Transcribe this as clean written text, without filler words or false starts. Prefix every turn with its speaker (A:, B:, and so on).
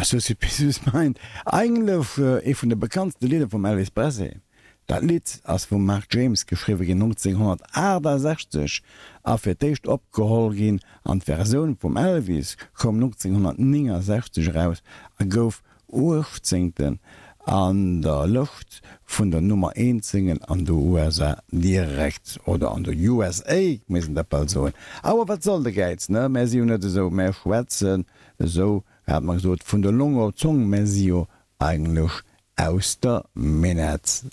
A: Suspicious Mind, eigentlech ee vun de bekanntste Lidder vum Elvis Presley. Dat Lidd ass vum Mark James geschriwwe ginn 1968 a fir d'éischt opgeholl ginn an d'Versioun vum Elvis koum 1969 eraus a gouf Uechtzéngten an der Lëscht vun der Nummer eent Single an de USA direkt, oder an de USA misst een dat bal soen. Awer wat soll de Gäiz, ne? Mär si jo net esou, mär schwätzen esou, hat mer gesot, vun der Long op d'Zong, mär si jo eigentlech aus der Minett.